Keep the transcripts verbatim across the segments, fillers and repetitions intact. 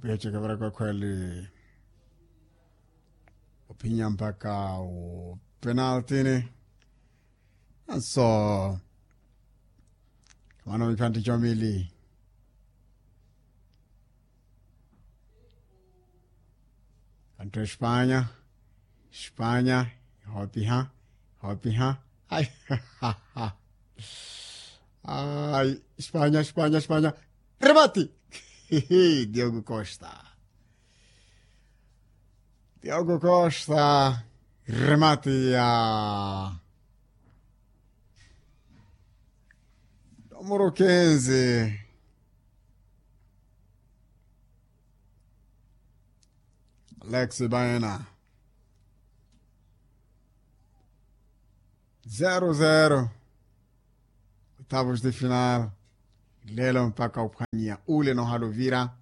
Pwiya chekevera kwekhweli ophinya mpakha o penaltini. Anso mano miphanti chomili. Kanto espanya, espanya ihopiha, ihopiha. Ai, ai, espanya, espanya, espanya. Remati. Diogo costa. Diogo costa. Remati ya numero quinze. Alex baena. Zero zero. Oitavos de final. Lelo mpakha ophwanya ule nohala ovira.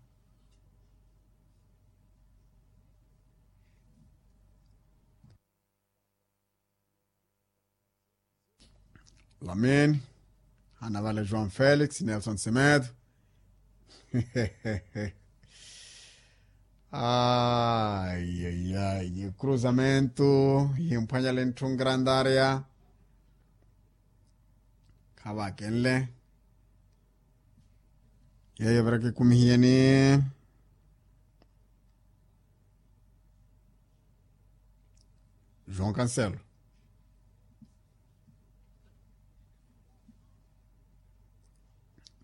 Lamine. Hana vale joão felix nelson semedo. Ai ai ai cruzamento. Yimphwanya lentthungra andaria. Khavakenle. Yeyo vira kikumihiyeni. João cancelo.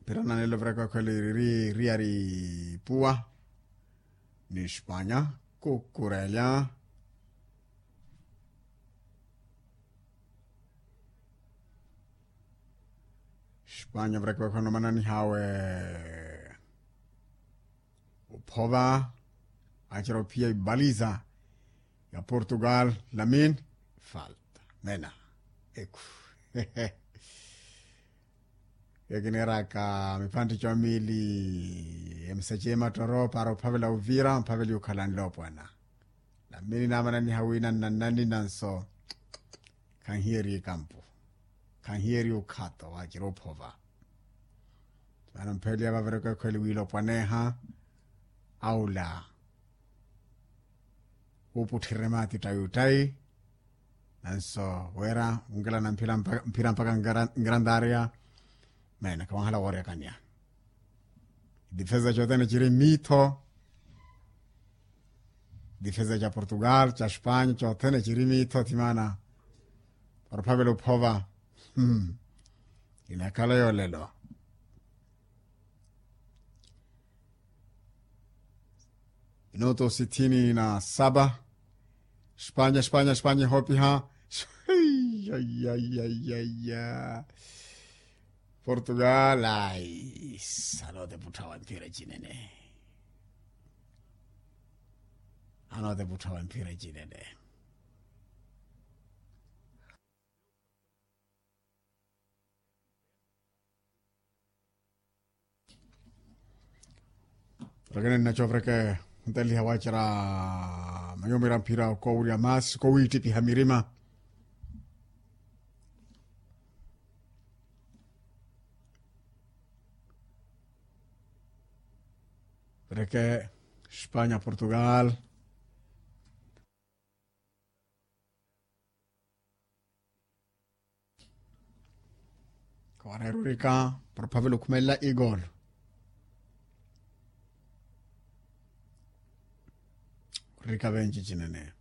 Mpira nanelo vira kwakhweli ri ri ari puwa. Ni espanya kukurelya. Espanya vira kwakhweli nomananihawe. Ophova. Achira ophiya ibaliza ya portugal. Lamin. Falta mena. Eku. Ekineeraka miphantti comili emisaci emattoro para ophavela ovira mphaveli okhalanle opwana. Namini namananiha wina nnannani nanso. Khanhiyeriye kampu. Khanhiyeriye okhato wakira ophova. Vano mpheliya vavireke ekhweli wiilopwaneha. Aula. Wuuputthirire maati ttayi ottayi. Nanso wira wunkelana mphira mpaka ngrandariya. Mene khawanhala woorekanya. Difeza cothene ciri miitho. Difeza ca portugal ca espanya cothene ciri miitho thimana. Para ophavela ophova. Inakhala yoolelo. Minuto sitini na saba. Espanya espanya espanya ihoopiha. Ayayayaya. Portugal ai. Anooteputtha wa mphira cinene. Anooteputtha wa mphira cinene. Rekene nnacovereke. Nteliha waacera manyumira mphira okowirya maasi kowiittipiha mirima. Reke espanya portugal. Kawareera orika para ophavela okhumelela igolo. Orika venci cinene.